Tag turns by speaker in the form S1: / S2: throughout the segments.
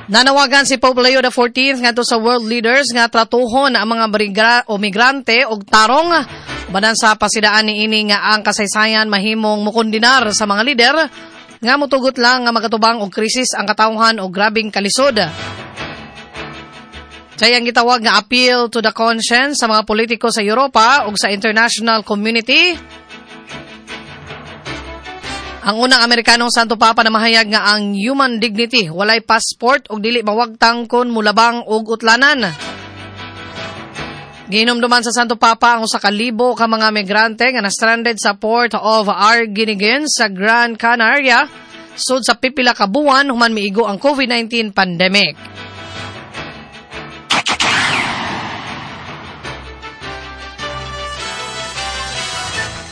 S1: Nanawagan si Pope Leo XIV ngadto sa world leaders nga tratuhon ang mga o migrante og tarong banan sa pasidaan niini nga ang kasaysayan mahimong mukondinar sa mga lider nga mutugot lang nga magatubang og krisis ang katawhan og grabeng kalisod. Sayang gitawag nga appeal to the conscience sa mga politiko sa Europa ug sa international community. Ang unang Amerikanong Santo Papa na mahayag nga ang human dignity walay passport ug dili mawagtang kon mulabang og utlanan. Gihinumduman sa Santo Papa ang 1,000 ka mga migrante nga na-stranded sa port of Arguineguín sa Gran Canaria sud sa pipila ka buwan human miigo ang COVID-19 pandemic.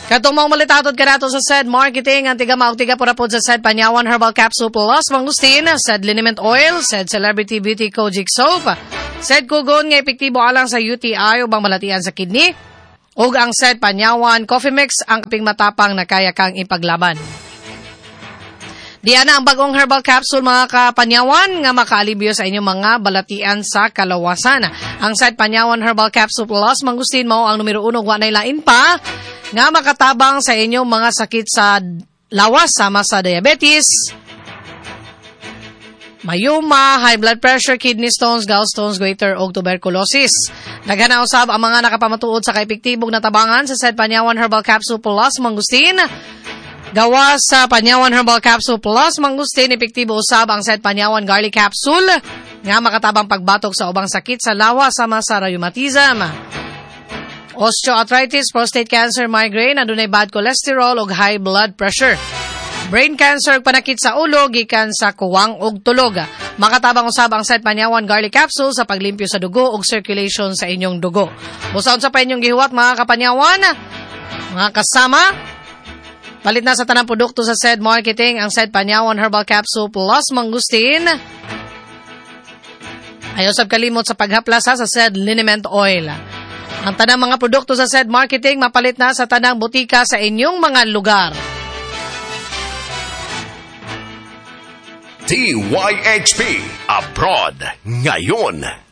S1: Katong maong malitatod kanato sa SED Marketing, ang tiga maog tiga pura pod sa SED Panyawan Herbal Capsule Plus Mangustin, SED Liniment Oil, SED Celebrity Beauty Kojic Soap, SED Kugon nga epektibo alang sa UTI ubang malatian sa kidney, ug ang SED Panyawan Coffee Mix ang kaping matapang na kaya kang ipaglaban. Diana ang bagong herbal capsule mga kapanyawan nga makaalibyo sa inyong mga balatian sa kalawasan. Ang SED Panyawan Herbal Capsule Plus Mangustin mao ang numero 1 wa nay lain pa nga makatabang sa inyong mga sakit sa lawas sama sa diabetes, mayuma, high blood pressure, kidney stones, gallstones, goiter ug tuberculosis. Daghan na usab ang mga nakapamatuod sa kaepektibong natabangan sa SED Panyawan Herbal Capsule Plus Mangustin. Gawa sa Panyawan Herbal Capsule Plus Mangustin, epektibo usab ang SED Panyawan Garlic Capsule nga makatabang pagbatok sa ubang sakit sa lawas sama sa rheumatism, osteoarthritis, prostate cancer, migraine, adunay bad cholesterol ug high blood pressure. Brain cancer ug panakit sa ulo gikan sa kuwang ug tulog. Makatabang usab ang SED Panyawan Garlic Capsule sa paglimpyo sa dugo ug circulation sa inyong dugo. Busa unsa pa inyong gihuwat mga kapanyawan, mga kasama, palit na sa tanang produkto sa SED Marketing ang SED Panyawan Herbal Capsule Plus Mangustin. Ayaw sab kalimot sa paghaplasa sa SED Liniment Oil. Ang tanang mga produkto sa SED Marketing mapalit na sa tanang butika sa inyong mga lugar.
S2: DYHP Abroad Ngayon.